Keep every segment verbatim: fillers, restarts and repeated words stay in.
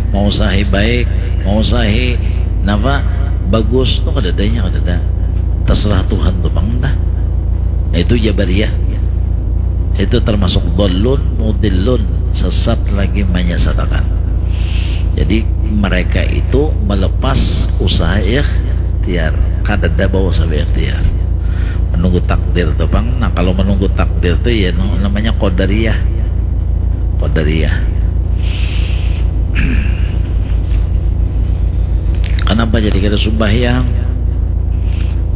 Mausahi baik, mausahi napa, bagus tu kadadanya, kadada. Terserah Tuhan tu pang dah. Itu Jabariyah. Itu termasuk dhalun mudhillun, sesat lagi menyesatakan. Jadi mereka itu melepas usaha ikhtiar, kadada bausaha ikhtiar. Menunggu takdir tu pang. Nah, kalau menunggu takdir tu ya namanya qadariyah. Qadariyah. Kenapa jadi kada sumbahyang?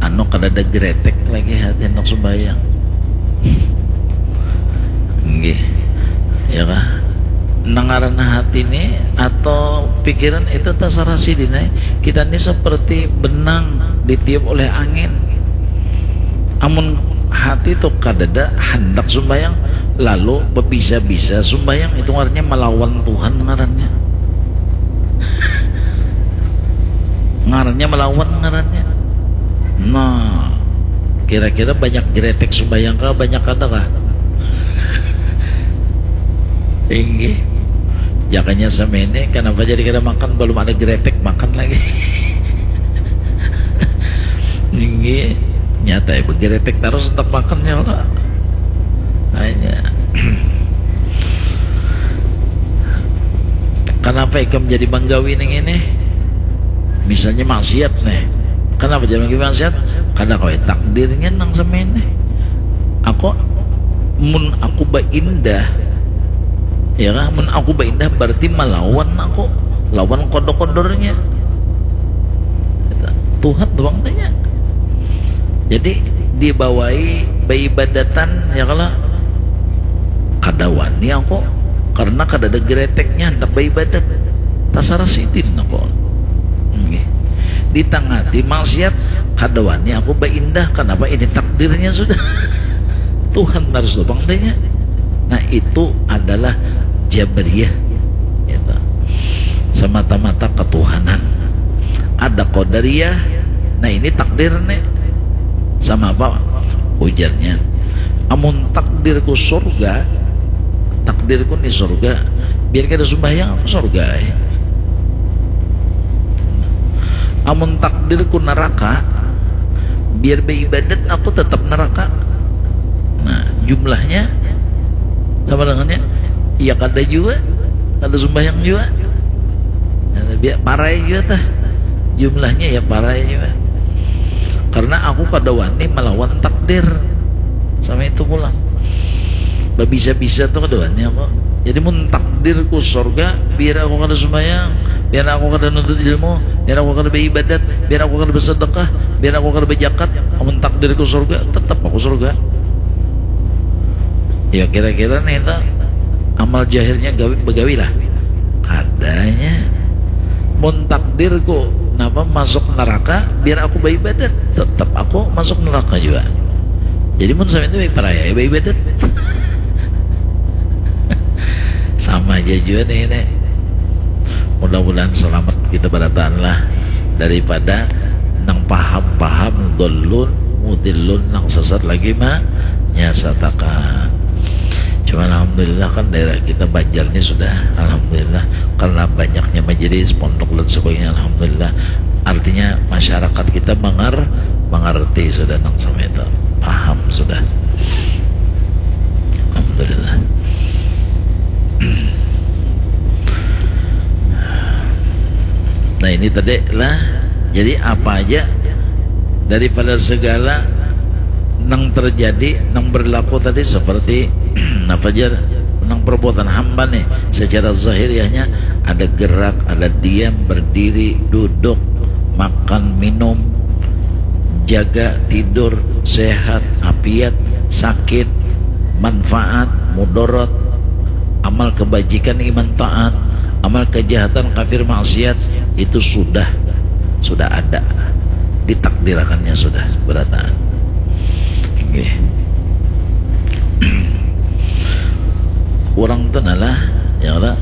Anu, kada ada gretek lagi hati hendak sumbahyang. Nggih. Ya kah? Nang ngarannya hati ni atau pikiran itu tasarah sidin ai. Kita ni seperti benang ditiup oleh angin. Amun hati tu kadada handak sumbayang, lalu bebisa-bisa sumbayang, itu ngarannya melawan Tuhan ngarannya. Ngarannya melawan ngarannya. Nah, kira-kira banyak gretek sumbayang kah? Banyak kada kah? Inggih. Jakanya semene, kenapa jadi kada makan? Belum ada gretek, makan lagi. Inggih. Nyata ya, begretek terus untuk makannya lah. Hanya. Kenapa ikam jadi manggawi ning ini? Misalnya maksiat nih. Kenapa jadi manggawi maksiat? Karena kau takdirnya nang semene. Aku, mun aku baindah, ya kan? Mun aku baindah berarti melawan aku, lawan kodok-kodornya. Tuhan tu pang tanya. Jadi dibawai baibadatan, ya kalo, kada wani aku karena kada ada greteknya handak baibadat. Tasarah sidin aku. Nggih. Ditangati maksiat, kada wani aku baindah. Kenapa? Ini takdirnya sudah. Tuhan harus tu pang tanya. Nah, itu adalah Jabariyah. Gitu. Semata-mata ketuhanan. Ada Qadariyah. Nah, ini takdir nih. Sama apa ujarnya? Amun takdirku surga, takdirku nih surga, biar kada sumbahyang aku surga eh. Amun takdirku neraka, biar beribadat aku tetap neraka. Nah, jumlahnya sama dengannya, ya kada juga, kada sumbahyang juga. Nah, biar parai juga tah. Jumlahnya ya parai juga. Karena aku kada wani melawan takdir. Sama itu pulang. Babisa-bisa tuh kada wani aku. Jadi mun takdirku surga, biar aku kada sumbahyang, biar aku kada nuntut ilmu, biar aku kada beribadat, biar aku kada bersedekah, biar aku kada berjakat, amun takdirku surga, tetap aku surga. Ya kira-kira nih itu amal jahilnya gawi, begawi lah. Kadanya. Mun takdirku napa masuk neraka, biar aku beribadat, tetap aku masuk neraka juga. Jadi mun sampai itu paraya beribadat. Sama aja juga nih ini. Mudah-mudahan selamat kita berataan lah daripada nang paham-paham dolun mudilun nang sesat lagi mah nyasatakan. Cuma alhamdulillah kan daerah kita Banjar ini sudah alhamdulillah karena banyaknya majelis pondok dan sebagainya alhamdulillah artinya masyarakat kita mengar mengerti sudah nang sama itu paham sudah alhamdulillah. Nah ini tadi lah. Jadi apa aja daripada segala nang terjadi nang berlaku tadi seperti apa aja nang perbuatan hamba nih secara zahiriahnya ada gerak, ada diam, berdiri, duduk, makan, minum, jaga, tidur, sehat, apiat, sakit, manfaat, mudarat, amal kebajikan, iman taat, amal kejahatan, kafir, maksiat, itu sudah sudah ada ditakdirakannya sudah berataan. Nggih. Orang tu nalah ya lah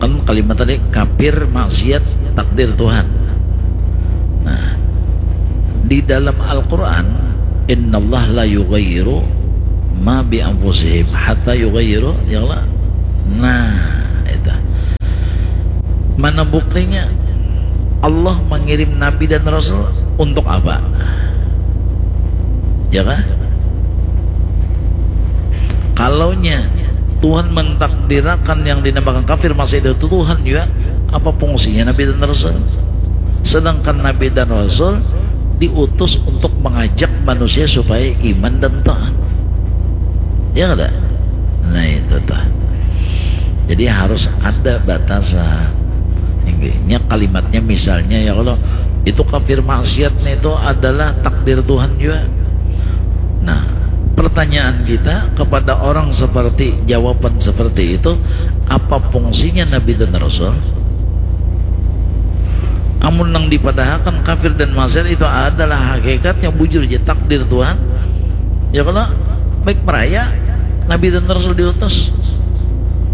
kan kalimat tadi kafir maksiat takdir Tuhan. Nah, di dalam Al-Qur'an innallaha la yughayyiru ma bi anfusihim hatta yughayyiru ya Allah. Nah, itu. Mana buktinya? Allah mengirim nabi dan rasul untuk apa? Ya kah? Kalaunya Tuhan mentakdirakan yang dinamakan kafir masih ada Tuhan juga, apa fungsinya nabi dan rasul? Sedangkan nabi dan rasul diutus untuk mengajak manusia supaya iman dan taat. Ya kada? Nah, itu tuh. Jadi harus ada batasan. Inggih, nya kalimatnya misalnya ya, kalau itu kafir maksiat nih, itu adalah takdir Tuhan juga. Nah, pertanyaan kita kepada orang seperti, jawaban seperti itu, apa fungsinya nabi dan rasul? Amun nang dipadahakan kafir dan maksiat itu adalah hakikatnya, bujur aja takdir Tuhan. Ya kalau baik meraya nabi dan rasul diutus,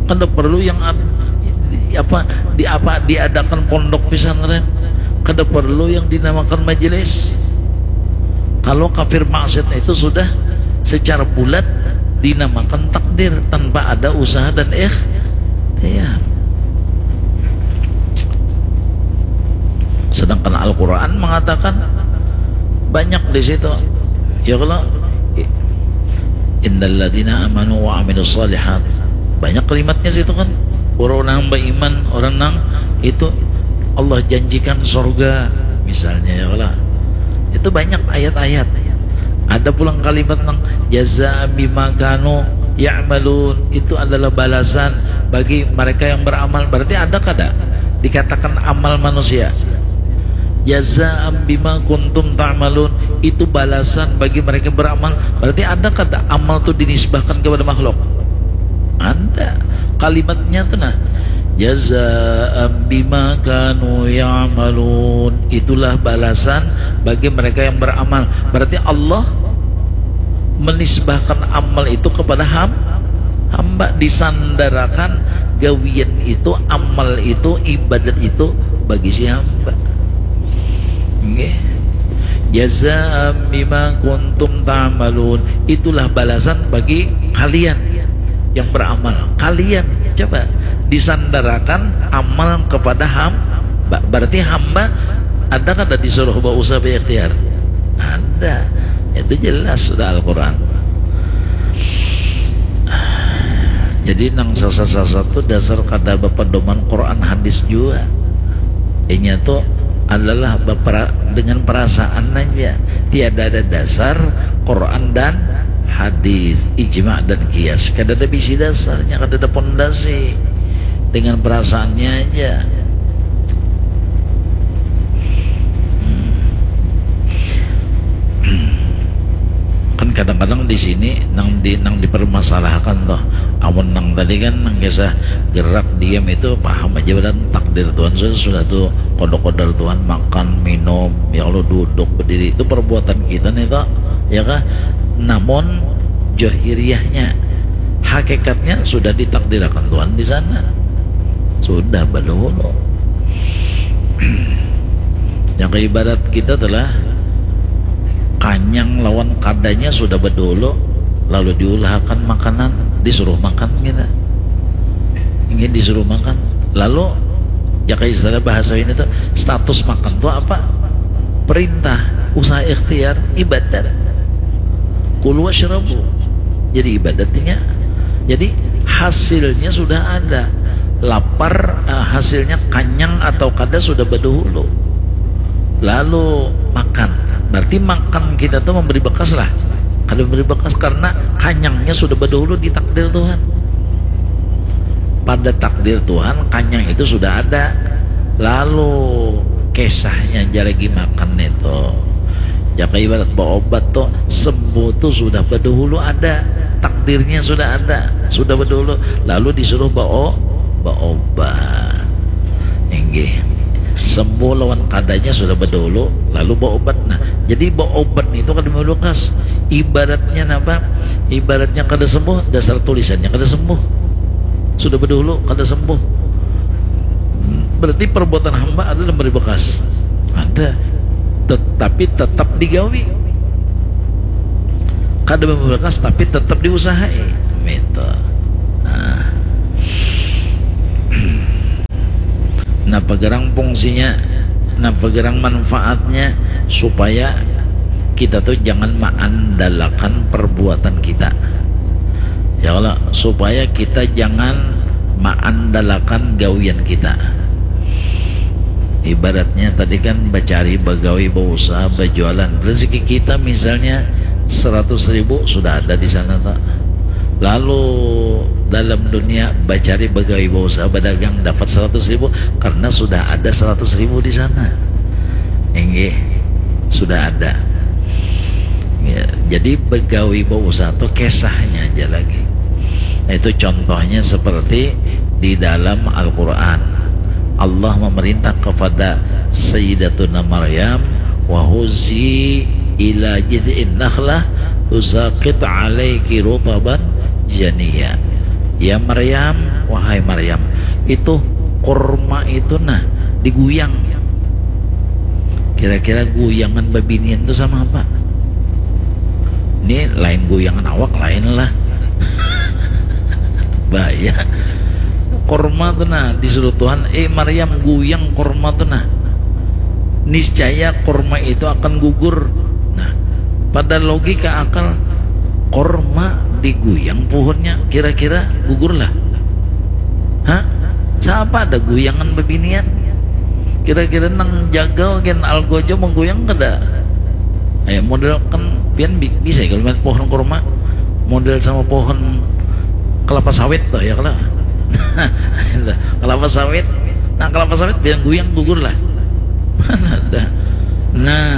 kada perlu yang ab- apa di apa diadakan pondok pesantren, kada perlu yang dinamakan majelis. Kalau kafir maksiat itu sudah secara bulat dinamakan takdir tanpa ada usaha dan ikhtiar. Sedangkan Al-Quran mengatakan banyak di situ. Ya kalau innalladzina amanu wa amilus salihat, banyak kalimatnya situ kan. Orang nang beriman, orang nang itu Allah janjikan surga misalnya ya kalau. Itu banyak ayat-ayat. Ada pulang kalimat nang jazaan bima kanu ya'malun, itu adalah balasan bagi mereka yang beramal. Berarti ada kada dikatakan amal manusia? Jazaan bima kuntum ta'malun, itu balasan bagi mereka yang beramal. Berarti ada kada amal tu dinisbahkan kepada makhluk? Ada. Kalimatnya tu nah, jazaan bima kanu ya'malun, itulah balasan bagi mereka yang beramal. Berarti Allah menisbahkan amal itu kepada ham, hamba, disandarakan gawian itu, amal itu, ibadat itu bagi si hamba. Nggih. Jazaan bima kuntum ta'malun, itulah balasan bagi kalian yang beramal. Kalian, coba, disandarakan amal kepada hamba. Berarti hamba ada kada disuruh bausaha berikhtiar? Ada. Itu jelas sudah Al-Quran. Jadi nang sasat-sasat tu dasar kada bapadoman Quran hadis jua. Inya tu adalah bapera-, dengan perasaan aja. Tiada ada dasar Quran dan hadis, ijma dan kias. Kada ada bisi dasarnya, kada ada pondasi. Dengan perasaannya aja. Hmm. Kan kadang-kadang di sini nang di, nang dipermasalahkan tuh. Amun nang tadi kan nang kisah gerak diam itu paham aja, badan takdir Tuhan sudah, sudah tuh kodok-kodok Tuhan, makan, minum, ya Allah, duduk, berdiri, itu perbuatan kita nih tuh, ya kah? Namun johiriahnya, hakikatnya sudah ditakdirakan Tuhan di sana. Sudah badahulu. Yang ibarat kita telah kanyang lawan kadanya sudah badahulu, lalu diulahakan makanan, disuruh makan kita. Ingin disuruh makan. Lalu, ya kayak istilah bahasa ini tuh, status makan tuh apa? Perintah, usaha ikhtiar, ibadat. Kulu wasyrabu. Jadi ibadatnya. Jadi hasilnya sudah ada. Lapar, eh, hasilnya kanyang atau kada sudah badahulu. Lalu makan. Berarti makan kita tuh memberi bekas lah. Kada memberi bekas karena kanyangnya sudah badahulu ditakdir Tuhan. Pada takdir Tuhan, kanyang itu sudah ada. Lalu kisahnya aja lagi makan itu. Jaka ibarat baobat tuh, sembuh tuh sudah badahulu ada. Takdirnya sudah ada, sudah badahulu. Lalu disuruh bao-, baobat. Inggih. Sembuh lawan kadanya sudah badahulu, lalu baobat. Nah, jadi baobat itu kada memberi bekas. Ibaratnya napa? Ibaratnya kada sembuh, dasar tulisannya kada sembuh. Sudah badahulu kada sembuh. Berarti perbuatan hamba ada memberi bekas. Ada. Tetapi tetap digawi. Kada memberi bekas tapi tetap diusahai. Itu. Nah. Napa gerang fungsinya, napa gerang manfaatnya, supaya kita tuh jangan maandalakan perbuatan kita. Ya Allah, supaya kita jangan maandalakan gawian kita. Ibaratnya tadi kan bacari, bagawi, bausaha, bajualan. Rezeki kita misalnya seratus ribu sudah ada di sana, tak? Lalu dalam dunia bacari, bagawi, bausaha, badagang, dapat seratus ribu karena sudah ada seratus ribu di sana. Inggih, sudah ada. Ya, jadi bagawi, bausaha tuh kisahnya aja lagi. Nah, itu contohnya seperti di dalam Al-Quran. Allah memerintah kepada Sayyidatuna Maryam, "Wa huzzi ila jiz'in nakhlah tusaqit alaiki rutaban janiya." Ya Maryam, wahai Maryam, itu kurma itu nah diguyang. Kira-kira guyangan babinian itu sama apa? Ini lain guyangan awak, lain lah. Bahaya. Kurma tuh nah, disuruh Tuhan, "Eh Maryam, guyang kurma tuh nah. Niscaya kurma itu akan gugur." Nah, pada logika akal, kurma diguyang pohonnya, kira-kira gugur lah? Hah? Siapa ada guyangan babinian? Kira-kira nang jaga gen algojo mengguyang kada? Ayo model kan pian bi- bisa ya kalau main pohon kurma model sama pohon kelapa sawit tuh ya kalau kelapa sawit, nah kelapa sawit biar guyang gugur lah. Mana ada. Nah,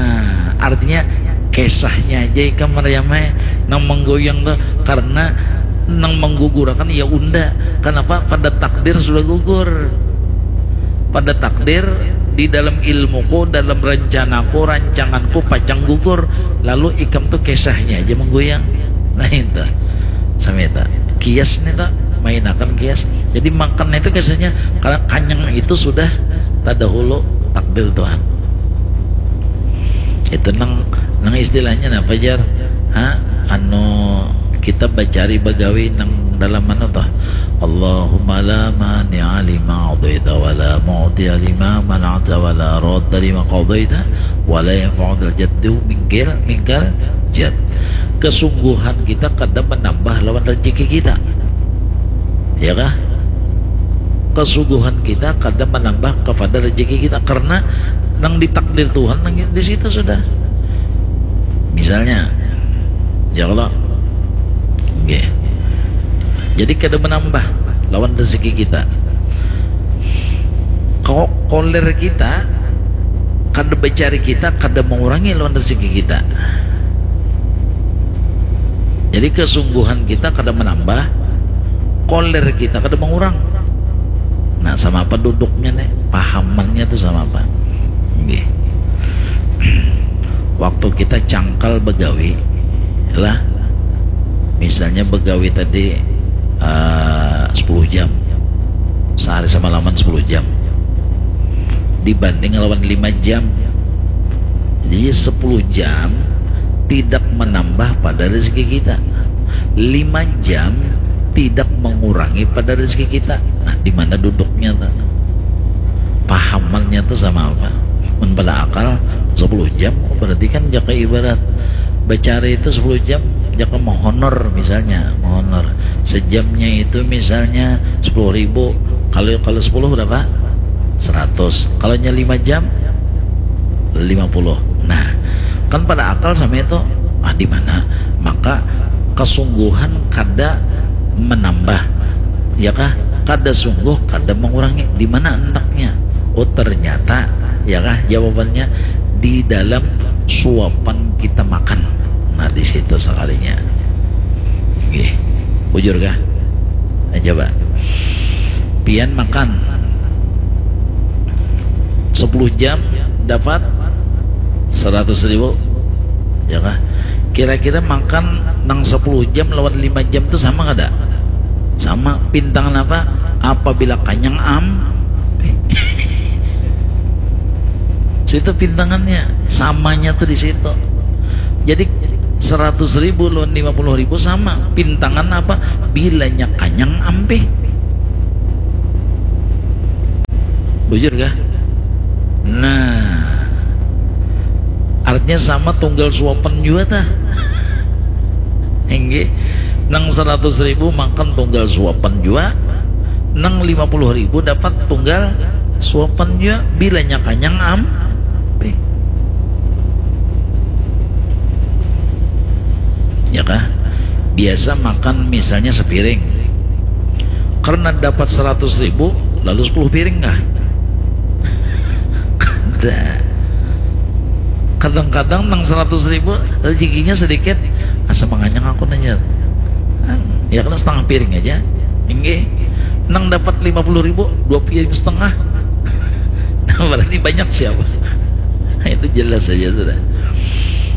artinya kisahnya aja ikam Maryamai nang menggoyang tuh karena nang menggugurakan ya unda. Kenapa? Pada takdir sudah gugur. Pada takdir di dalam ilmuku, dalam rencanaku, rancanganku pacang gugur. Lalu ikam tuh kisahnya aja menggoyang. Nah itu. Samita kias nih tak mainakan kias. Jadi makan itu kisahnya kalau kanyang itu sudah terdahulu takdir Tuhan. Itu nang nang istilahnya apa jar? Ha? Anu kita bacari bagawi nang dalam mana tuh? Allahumma la mani'a lima a'taita wa la mu'tiya lima mana'ta wa la radda lima qadaita wa la yanfa'u dzal jaddu minkal minkal jad. Kesungguhan kita kada menambah lawan rezeki kita. Ya kah? Kesungguhan kita kada menambah kepada rezeki kita karena nang ditakdir Tuhan nang di situ sudah. Misalnya, ya Allah, okay. Jadi kada menambah lawan rezeki kita. Kok koler kita kada mencari kita kada mengurangi lawan rezeki kita. Jadi kesungguhan kita kada menambah, koler kita kada mengurang. Nah, sama apa duduknya nih? Pahamannya tuh sama apa? Nggih. Waktu kita cangkal begawi lah, misalnya begawi tadi uh, sepuluh jam, sehari sama laman sepuluh jam, dibanding lawan lima jam. Jadi sepuluh jam tidak menambah pada rezeki kita. Lima jam tidak mengurangi pada rezeki kita. Nah, di mana duduknya tuh? Pahamannya tuh sama apa? Mun pada akal sepuluh jam, oh, berarti kan jaka ibarat bacari itu sepuluh jam, jaka mohonor misalnya, mohonor. Sejamnya itu misalnya sepuluh ribu, kalau kalau sepuluh berapa? Seratus. Kalau nya lima jam, lima puluh. Nah, kan pada akal sama itu, ah, di mana? Maka kesungguhan kada menambah, ya kah? Kada sungguh, kada mengurangi. Di mana hendaknya? Oh, ternyata, ya kah? Jawabannya di dalam suapan kita makan. Nah, di situ sekalinya. Nggih. Bujur kah? Nah, coba. Pian makan sepuluh jam dapat seratus ribu, ya kah? Kira-kira makan nang sepuluh jam lawan lima jam tuh sama kada? Sama. Pintangan apa? Apabila kanyang am situ pintangannya, samanya tuh di situ. Jadi seratus ribu lawan lima puluh ribu sama. Pintangan apa? Bilanya kanyang ampih. Bujur kah? Nah, artinya sama tunggal suapan jua tah. Inggih, nang seratus ribu makan tunggal suapan jua, nang lima puluh ribu dapat tunggal suapan jua, bilanya kanyang am. Ya kah? Biasa makan misalnya sepiring, karena dapat seratus ribu, lalu sepuluh piring kah? Kada. Kadang-kadang nang seratus ribu rezekinya sedikit, asa manganyang aku nanya. Ya, kena setengah piring aja. Inggih. Nang dapat lima puluh ribu, dua piring setengah. Nah, berarti banyak siapa? Itu jelas saja sudah.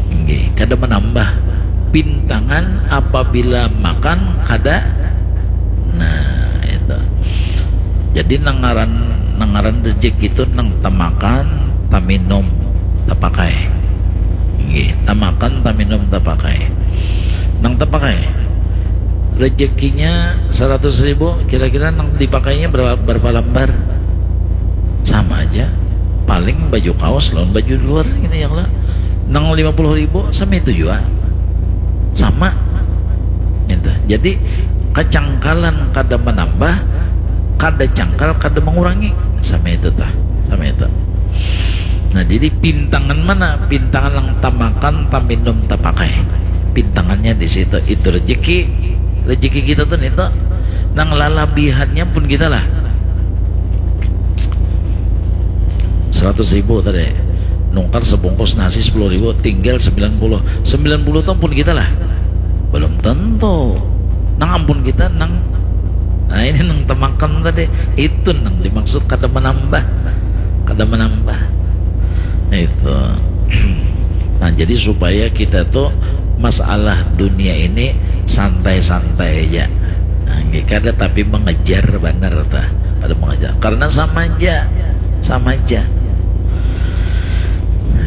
Inggih, kada menambah. Pintangan apabila makan kada. Nah, itu. Jadi nangaran nangaran rezeki itu nang tamakan, taminum, tapakai. Inggih, tamakan, taminum, tapakai. Nang tapakai, rezekinya seratus ribu, kira-kira nang dipakainya berapa, berapa lambar? Sama aja. Paling baju kaos lawan baju luar ini yang lah. Nang lima puluh ribu sama itu juga. Sama. Gitu. Jadi kacangkalan kada menambah, kada cangkal kada mengurangi. Sama itu tah. Sama itu. Nah, jadi pintangan mana? Pintangan yang tamakan, taminum, tapakai. Pintangannya di situ. Itu rezeki. Rezeki kita tuh nih tuh. Nang lalabihannya pun kita lah. Seratus ribu tadi, nukar sebungkus nasi sepuluh ribu, tinggal sembilan puluh. Sembilan puluh tuh ampun kita lah. Belum tentu. Nang ampun kita nang, nah, ini nang tamakan tadi, itu nang dimaksud kada menambah. Kada menambah. Itu. Nah, jadi supaya kita tuh masalah dunia ini santai-santai aja. Nah, kada tapi mengejar benar tah. Kada mengejar. Karena sama aja. Sama aja.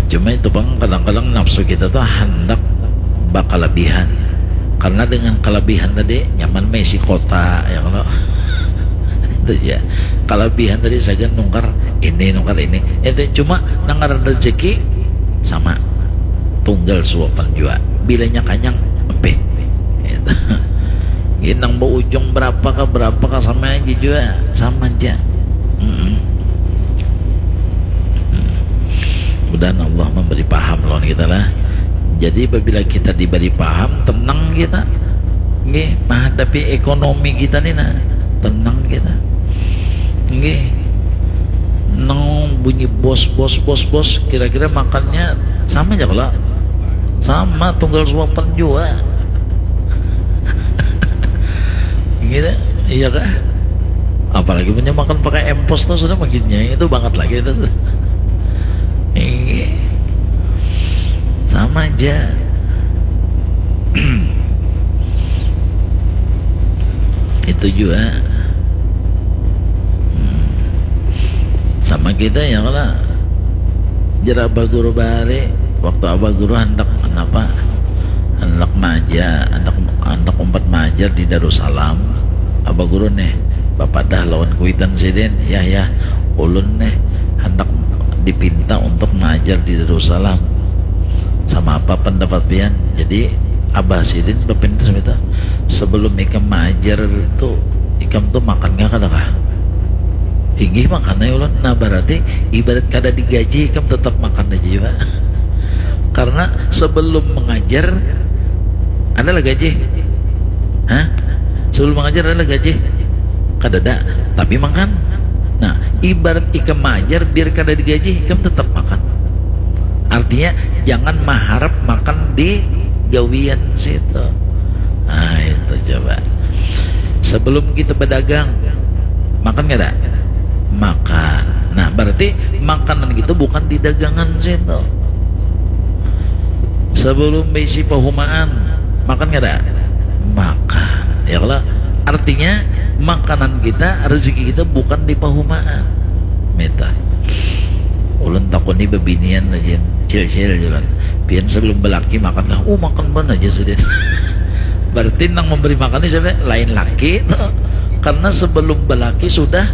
Cuma itu bang, kadang-kadang nafsu kita tuh hendak bakalabihan. Karena dengan kelebihan tadi nyaman maisi kota, ya kalau itu ya. Kelebihan tadi sagan nukar ini, nukar ini. Itu cuma nangaran rezeki sama. Tunggal suapan jua. Bilanya kanyang, empih. Gitu. Ini nang berujung berapa kah, berapa kah, sama aja jua. Sama aja. Mm-mm. Mudahan Allah memberi paham lawan kita lah. Jadi apabila kita diberi paham, tenang kita. Nggih, menghadapi ekonomi kita nih nah, tenang kita. Nggih. Nang bunyi bos, bos, bos, bos, kira-kira makannya sama aja kalau sama tunggal suapan jua. Gitu, iya kah? Apalagi punya makan pakai empos tuh sudah makinnya itu banget lagi itu. Iya. Sama aja. Itu juga. Hmm. Sama kita ya kalau jera Abah Guru bahari, waktu Abah Guru hendak kenapa, hendak maja, hendak hendak umpat majar di Darussalam. Abah Guru nih bapadah lawan kuitan sidin, ya ya, ulun nih hendak dipinta untuk majar di Darussalam. Sama apa pendapat pian? Jadi abah sidin bapintas itu, sebelum ikam maajar itu, ikam tuh makan nggak kada kah? Inggih, makan aja ulun. Nah, berarti ibarat kada digaji, ikam tetap makan aja juga. Karena sebelum mengajar ada lah gaji. Hah? Sebelum mengajar ada lah gaji? Kada ada, tapi makan. Nah, ibarat ikam maajar biar kada digaji, ikam tetap makan. Artinya jangan maharap makan di gawian situ. Nah, itu coba. Sebelum kita berdagang, makan kada? Makan. Nah, berarti makanan kita bukan di dagangan situ. Sebelum bisi pahumaan, makan kada? Makan. Ya kalau artinya makanan kita, rezeki kita bukan di pahumaan. Meta. Ulun takuni bebinian aja, cil-cil jalan. Pian sebelum belaki makan kah? Oh, makan ban aja sudah. Berarti nang memberi makan ini siapa? Lain laki tuh. Karena sebelum belaki sudah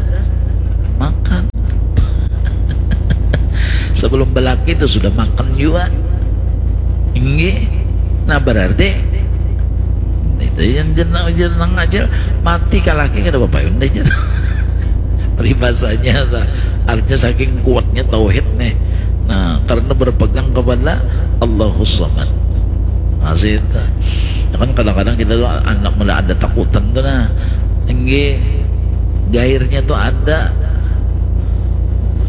makan. Belum belaki itu sudah makan juga. Inggih. Nah, berarti itu yang jenang, jenang aja mati kalaki kada bapayun deh, jenang. Peribahasanya tuh. Artinya saking kuatnya tauhid nih. Nah, karena berpegang kepada Allahus Samad. Masih itu. Ya kan, kadang-kadang kita tuh anak mulai ada takutan tuh, nah. Inggih. Gairnya tuh ada.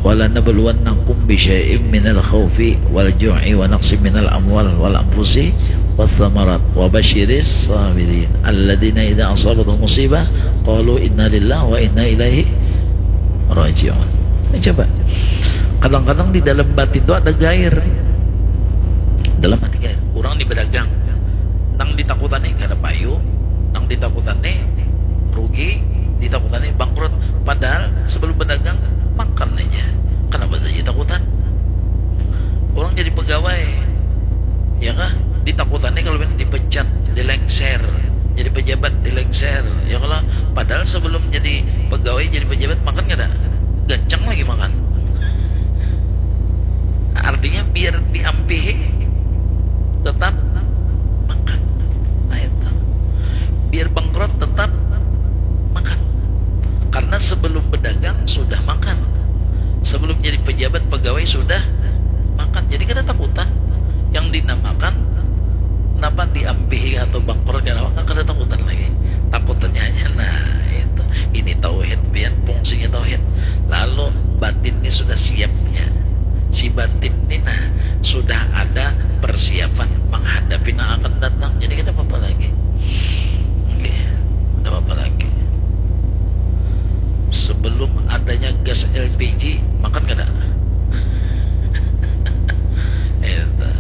Wala nabluwannakum bisyai'im minal khaufi wal ju'i wa naqsim minal amwal wal anfusi was samarat wa basyiris sabirin alladzina idza asabatuhum musibah qalu inna lillahi wa inna ilaihi raji'un. Nah, coba. Kadang-kadang di dalam batin itu ada gair. Dalam hati gair. Orang ni berdagang. Nang ditakutani kada payu, nang ditakutani rugi, ditakutani bangkrut. Padahal sebelum berdagang, makan aja. Kenapa saja takutan? Orang jadi pegawai, ya kah? Ditakutani kalau ini dipecat, dilengser. Jadi pejabat, dilengser, ya kalau. Padahal sebelum jadi pegawai, jadi pejabat, makan kada? Gancang lagi makan. Artinya biar diampihi, tetap makan. Nah, itu. Biar bangkrut, tetap makan. Karena sebelum berdagang, sudah makan. Sebelum jadi pejabat, pegawai, sudah makan. Jadi kada takutan. Yang dinamakan, napa, diampihi atau bangkrut, kada, kada takutan lagi. Takutannya hanya, nah, itu. Ini tauhid, pian, fungsinya tauhid. Lalu batin ini sudah siapnya. Si batin ini, nah, sudah ada persiapan menghadapi yang akan datang. Jadi kada apa-apa lagi. Oke, kada apa-apa lagi. Sebelum adanya gas L P G, makan kada? Itu.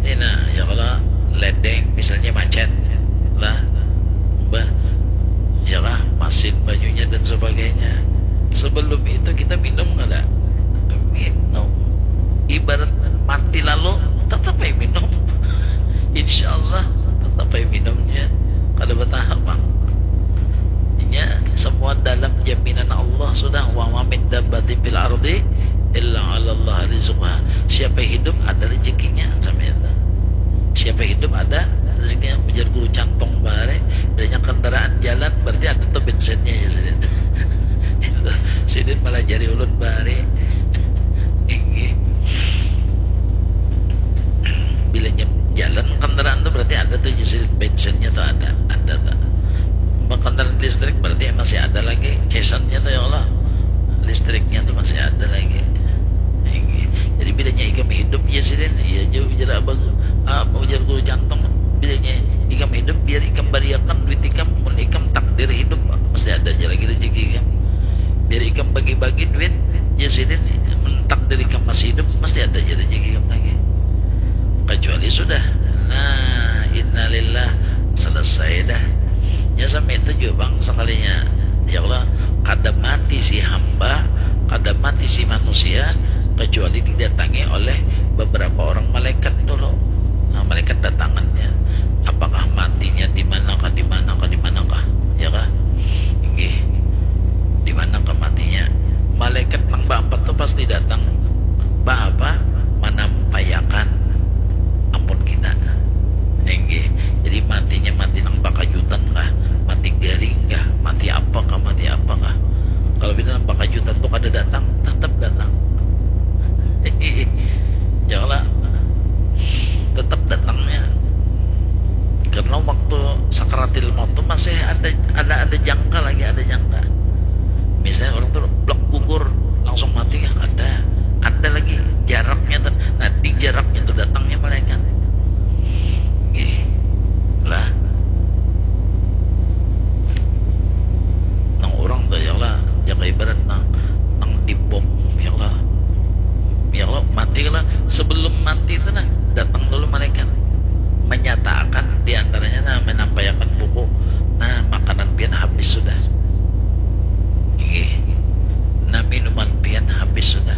Ini nah, ya kalau ledeng misalnya macet lah, bah, ya lah, masin banyunya dan sebagainya. Sebelum itu kita minum kada? Minum. Ibarat mati lalu, tetap aja minum. Insya Allah tetap aja minumnya. Kada bertahap, Bang. Nya semua dalam jaminan Allah sudah. Wa ma min dabbatin fil ardi illa 'ala Allah rizquha. Siapa hidup ada rezekinya, sama itu. Siapa hidup ada rezekinya, ujar guru Cantong bahari. Banyak kendaraan jalan, berarti ada tuh bensinnya, ya, sidin. Itu sidin malah jari ulun bahari. Inggih. Bilanya jalan kendaraan tuh berarti ada tuh, sidin, bensinnya tuh ada, ada tuh. Kendaraan listrik berarti masih ada lagi cesannya tuh, ya Allah. Listriknya tuh masih ada lagi. Inggih. Jadi bilanya ikam hidup, ya, sidin, iya jauh ujar abah, apa ujar guru Cantong, bilanya ikam hidup, biar ikam bariakan duit ikam, mun ikam takdir hidup, mesti ada aja lagi rezeki ikam. Biar ikam bagi-bagi duit, ya, sidin, mun takdir ikam masih hidup, mesti ada aja rezeki ikam lagi. Kecuali sudah, nah, innalillah, selesai dah. Ya, sampai itu juga, Bang, sekalinya. Ya Allah, kada mati si hamba, kada mati si manusia, kecuali didatangi oleh beberapa orang malaikat dulu. Nah, malaikat datangannya. Apakah matinya di manakah, di manakah, di manakah? Ya kah? Inggih. Di manakah matinya? Malaikat nang baempat tu pasti datang. Ba apa? Manampaiakan ampun kita. Inggih. Jadi matinya mati nang bakajutan kah? Mati garing kah? Mati apa kah? Mati apa kah? Kalau bila nang bakajutan tu kada datang, tetap datang. Ya lah. Tetap datangnya. Karena waktu sakaratil maut tu masih ada, ada, ada jangka lagi, ada jangka. Misalnya orang tu blak gugur, langsung mati kah? Kada. Ada lagi jaraknya tu. Nah, di jaraknya tu datangnya malaikat. Inggih. Lah. Nang orang tu, ya lah, jaka ibarat nang, nang dibom, ya lah. Ya lah, mati lah. Sebelum mati tu nah, datang dulu malaikat. Menyatakan di antaranya, nah, menampaiakan buku. Nah, makanan pian habis sudah. Inggih. Nah, minuman pian habis sudah.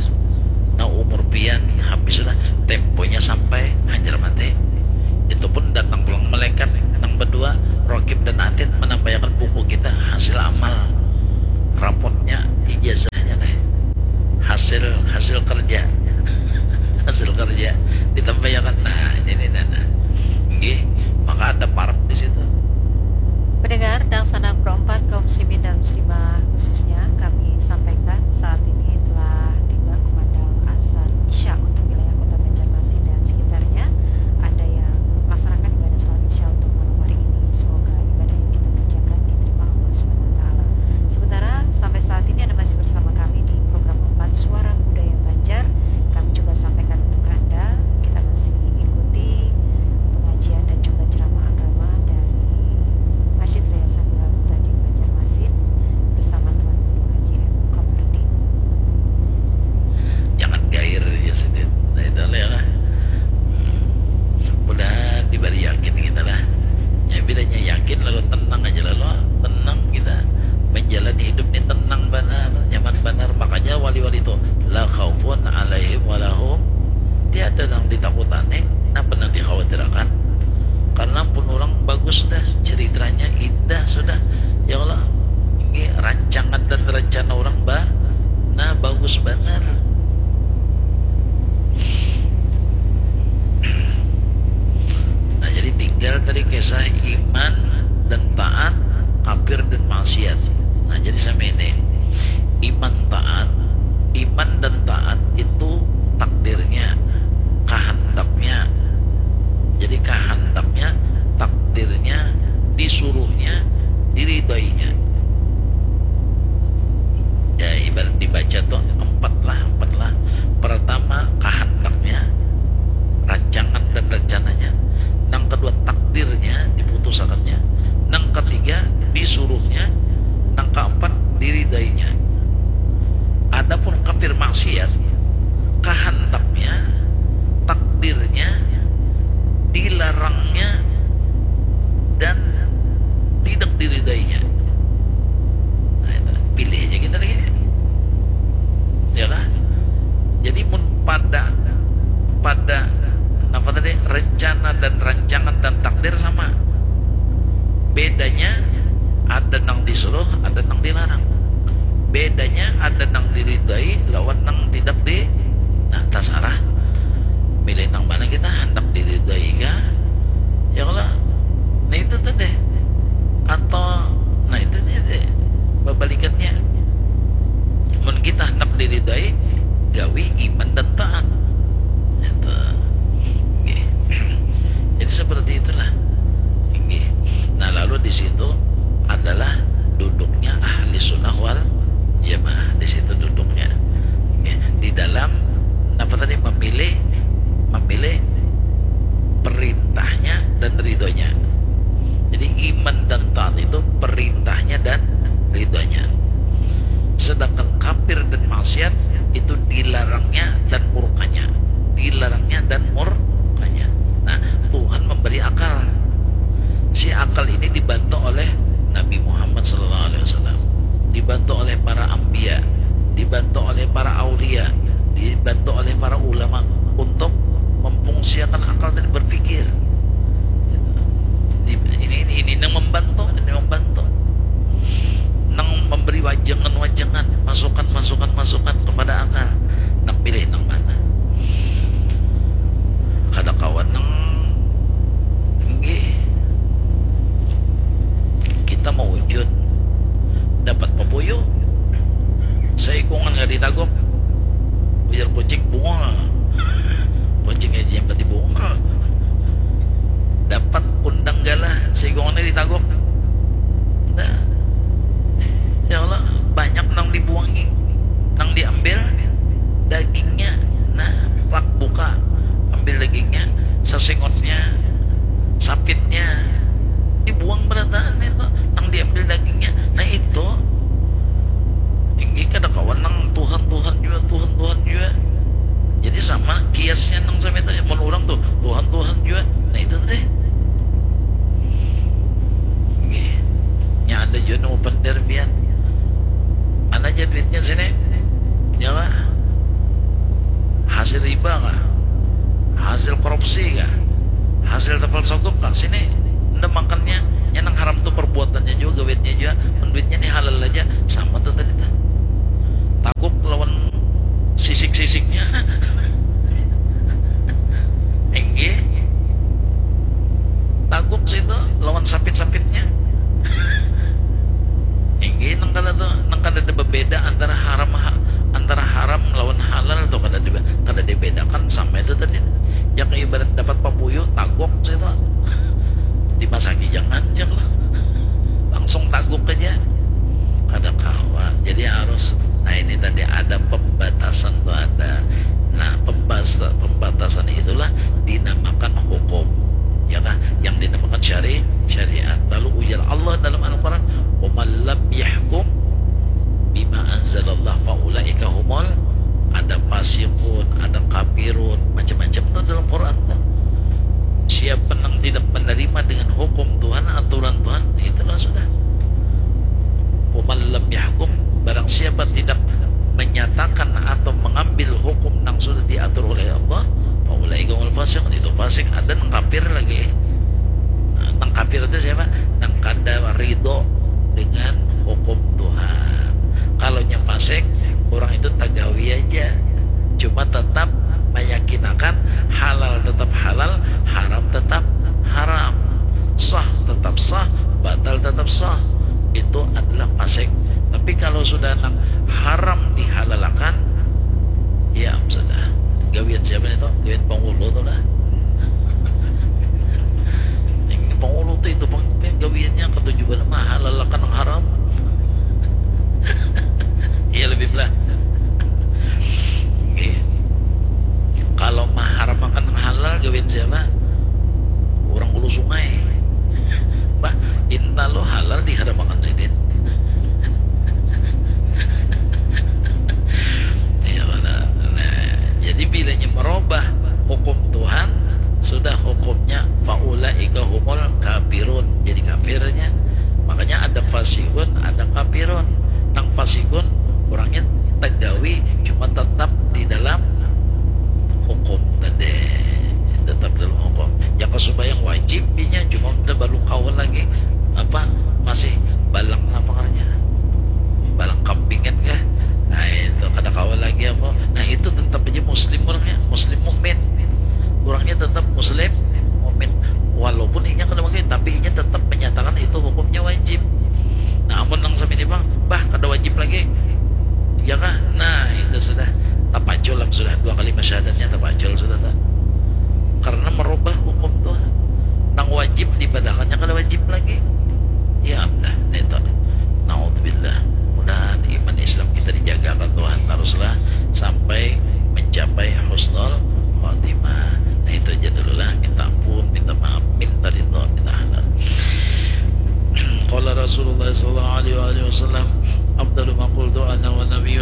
Nah, umur pian habis sudah. Temponya sampai, hanyar mati. hasil kerja hasil kerja ditambayakan, nah ini nih, nah, nah. Nggih, maka ada parak di situ. Pendengar Dangsanak Pro empat, kaum muslimin dan muslimah khususnya, kami sampaikan saat ini telah tiba kumandang azan Isya untuk wilayah Kota Banjarmasin dan sekitarnya. Ada yang melaksanakan ibadah sholat Isya untuk malam hari ini. Semoga ibadah yang kita kerjakan diterima Allah Subhanahu wa Ta'ala. Sementara sampai saat ini Anda masih bersama kami di program empat Suara Budaya Banjar. Kami coba sampaikan untuk Anda. Kita masih ikuti pengajian dan juga ceramah agama dari Masjid Raya Sambilan Tadi Banjarmasin bersama Tuan Guru Haji M Komardin. Jangan gair ya, Sidin. Nah, itu lah ya lah. Mudahan diberi yakin kita lah. Ya, bedanya yakin lalu tenang aja, lalu tenang kita menjalani hidup ini tenang banar, nyaman banar. Makanya wali-wali itu la khaufun alaihim walahum, tiada nang ditakutani, napa nang dikhawatirakan. Karena pun orang bagus dah, ceritanya indah sudah. Ya Allah, ini rancangan dan rencana orang ba, nah, bagus banar. Nah, jadi tinggal tadi kisah iman dan taat, kafir dan maksiat. Nah, jadi sama ini. Iman taat, iman dan taat itu takdirnya, kahandaknya. Jadi kahandaknya, takdirnya, disuruhnya, diridainya. Ya, ibarat dibaca tuh empat lah, empat lah. Pertama, kahandaknya, rancangan dan rencananya. Nang kedua, takdirnya, diputusakannya. Nang ketiga, disuruhnya. Nang keempat, diridainya. Adapun kafir maksiat, kahandaknya, takdirnya, dilarangnya, dan tidak diridainya. Nah, itu. Pilih aja kita lagi. Ya lah. Jadi mun pada, pada apa tadi, rencana dan rancangan dan takdir sama. Bedanya ada nang disuruh, ada nang dilarang. Bedanya ada nang diridai lawan nang tidak di, nah, tasarah. Milih nang mana kita, hendak diridai kah? Ya kalau, nah, itu tadi. Atau, nah, itu dia deh. Babalikannya. Mun kita hendak diridai, gawi iman dan taat. Itu. Nggih. Jadi seperti itulah. Nggih. Nah, lalu di situ adalah duduknya ahli sunnah wal jamaah, di situ duduknya. Nggih. Di dalam apa tadi, memilih, memilih perintahnya dan ridhonya. Jadi iman dan taat itu perintahnya dan ridhonya. Sedangkan kafir dan maksiat itu dilarangnya dan murkanya. Dilarangnya dan murkanya. Nah, Tuhan memberi akal. Si akal ini dibantu oleh Nabi Muhammad sallallahu alaihi wasallam, dibantu oleh para anbiya, dibantu oleh para aulia, dibantu oleh para ulama untuk memfungsiakan akal dan berpikir. Ini, ini, ini yang membantu, ini membantu. Nang memberi wajangan-wajangan, masukan-masukan, masukan kepada akal. Nang pilih nang mana? Kada kawan nang, nggih. Kita mawujud dapat papuyu. Saikungan kada ditaguk. Ujar kucing, bungul. Kucing aja yang pati bungul. Dapat undang galah, saikungan kada ditaguk. Nah. Ya Allah, banyak nang dibuangi, nang diambil dagingnya. Nah, plak buka, ambil dagingnya, sesengotnya, sapitnya, dibuang berataan itu, nang diambil dagingnya. Nah, itu. Tinggi kada kawan nang Tuhan, Tuhan jua, Tuhan, Tuhan jua. Jadi sama kiasnya nang sama itu, mun orang tuh Tuhan, Tuhan jua. Nah, itu deh. Nggih. Nya ada jua nang open derbian. Mana aja duitnya sini? Ya lah. Hasil riba kah? Hasil korupsi kah? Hasil tapal sogop kah? Sini. Anda makannya, nya nang haram tuh perbuatannya juga, gawiannya juga. Mun duitnya nih halal aja, sama tuh tadi tuh. Taguk lawan sisik-sisik. Antara haram antara haram lawan halal tuh kada di, kada dibedakan sama itu tadi. Yang ibarat dapat papuyu tagok situ dimasaki jangan ya lah, langsung tagok aja, kada kawa. Jadi harus, nah, ini tadi ada pembatasan tuh ada. Nah, pembas pembatasan itulah dinamakan hukum, ya kah? Yang dinamakan syari syariat. Lalu ujar Allah dalam Al-Quran, "Waman lam yahkum bima anzalallah faulaika humul," ada fasikun, ada kafirun, macam-macam tuh dalam Quran tuh. Siapa yang tidak menerima dengan hukum Tuhan, aturan Tuhan, itulah sudah. Waman lam yahkum, barang siapa tidak menyatakan atau mengambil hukum yang sudah diatur oleh Allah, faulaika humul fasiqun, itu fasik. Ada nang kafir lagi. Nah, nang kafir itu siapa? Nang kada ridho dengan hukum Tuhan. Kalau nya fasik, orang itu tagawi aja, cuma tetap meyakinakan halal tetap halal, haram tetap haram, sah tetap sah, batal tetap sah. Itu adalah fasik. Tapi kalau sudah nang haram dihalalakan, ya sudah. Gawian siapa itu? Gawian pangulu tuh lah. Ini pangulu tuh itu pang gawiannya ketujuan mah halalakan nang haram. Iya lebih belah. Oke. Kalau maharamakan nang halal gawian siapa? Orang Hulu Sungai. Bah, inta lo halal diharamakan sidin. Iya, nah, nah, jadi bilanya merubah hukum Tuhan, sudah hukumnya faulaika humul kafirun, jadi kafirnya. Makanya ada fasikun, ada kafirun. Nang fasikun orangnya tegawi, cuma tetap di dalam hukum tadi, tetap dalam hukum. Jaka sembahyang wajib inya, cuma udah baru kawan lagi apa, masih balang apa ngarannya, balang kambing kan kah? Nah, itu kada kawan lagi apa. Nah, itu tetap aja muslim orangnya, muslim mukmin. Orangnya tetap muslim mukmin, walaupun inya kada pakai, tapi inya tetap menyatakan itu hukumnya wajib. Nah, amun nang sami ini bang, bah, kada wajib lagi, ya kah? Nah, itu sudah tapacul lah, sudah dua kalimat syahadatnya tapacul sudah tak, karena merubah hukum Tuhan. Nang wajib dibadahkannya kada wajib lagi. Ya amdah, nah itu. Naudzubillah. Mudahan iman Islam kita dijagakan Tuhan teruslah sampai mencapai husnul khatimah. Nah, itu aja dulu lah, minta ampun, minta maaf, minta ridho, minta halal. Qala Rasulullah sallallahu alaihi wa alihi wasallam, "Afdalu ma qultu ana wa nabiyyu